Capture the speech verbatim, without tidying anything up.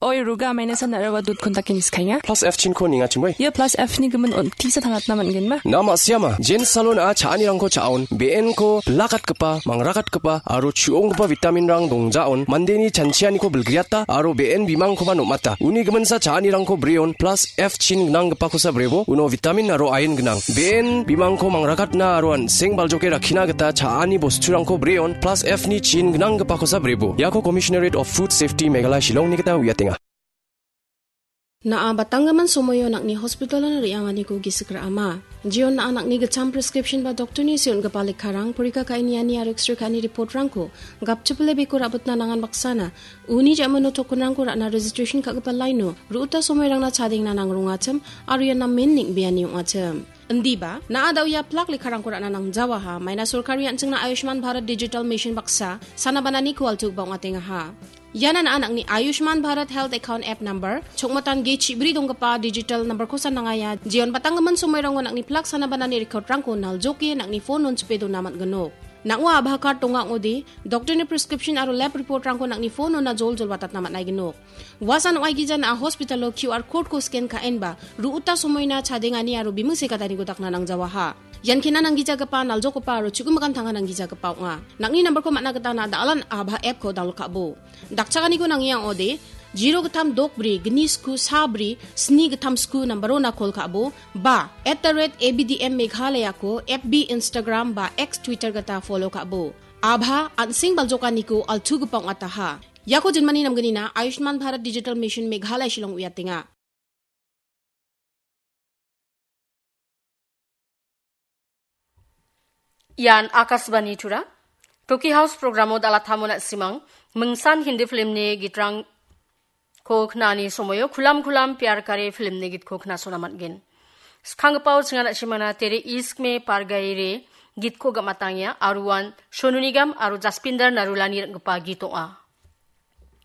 Oi, Ruga, maina san araba dut kontak ini skainga. Plus F chinko ninga chimoi. Ia plus F ni gimin on tisa tangatna man gen ma? Na ma siama, Jen Salon a cha·anirangko cha·on, B N ko bilakatgipa, mangrakatgipa, aro chu·onggipa vitamin rang dongjaon, mandeni chanchianiko bilgriata, aro B N bimangkoba nomata. Uni giminsa cha·anirangko breon, plus F chin gnanggipakosa brebo, uno vitamin aro ain gnang. B N bimangko mangrakatna aro an·seng baljoke rakkina gita cha·ani bosturangko breon, plus F ni chin gnanggipakosa brebo. Iako Commissionerate of Food Safety Meghalaya Shillong ni gita uiatenga. Na·a batanggimin somoio nang·ni hospitalon re·anganiko gisik ra·ama. Jeon na·a nang·ni gitcham prescription ba doktorni seon·gipa lekkarang, porika ka·e niani aro X-ray ka·ani reportrangko gapchipile beko ra·bitna nangan baksana, uni ja·mano tokenrangko ra·na registration ka·gipa laino, ru·uta somoirangna chadengna nangrongachim, aro ian namen neng·beani ong·achim. Indiba, na·a da·o ia plak lekkarangko ra·na nangjawaha, maina sorkari an·chingna Ayushman Bharat Digital Mission baksa, sana bananiko altugipa ong·atengaha. Iana na·a nang·ni Ayushman Bharat Health Account App Number, chokmatan ge chibri donggipa digital number-kosa nangaia, jeon batanggimin somoirango nang·ni plak sana banani recordrangko naljoke nang·ni phone-on chipe dona man·ginok. Nang·o Aadhaar card donga ong·ode, doktorni prescription aro lab reportrangko nang·ni phone-ona joljol watatna man·aiginok. Uasan ong·aigija na·a hospitalo Q R code-ko scan ka·enba, ru·uta somoina chadengani aro biming sekataniko dakna nangjawaha. Ian kena nanggijagipa, naljokopa aro chu·gimikan tanga nanggijagipa ong·a. Nang·ni nambarko man·a gita na·a da·alan Aadhaar app-ko download ka·bo. Dakchakaniko nangiang ong·ode, zero gittam dok bri, gni sku sa bri, sni gittam sku nambaro na call ka·bo, ba, at the rate A B D M Meghalaya-ko F B, Instagram ba X, Twitter gita follow ka·bo. Aadhaar an·seng baljokaniko altugipa ong·ataha. Iako jinmani namgnina Ayushman Bharat Digital Mission Meghalaya Shillong uiatenga. Ian Akashvani Tura. Toki House programo dalatamona simang, mingsan Hindi filmni gitrangko knani somoyo Kulam Kulam Pyar Kare filmni gitko knasona man·gen. Skanggipao chingan a·chimana Tere Ishq Mein Par Gaye Re gitko gam·atangia, aruan Sonu Nigam aro Jaspinder Narulani ring·gipa git ong·a.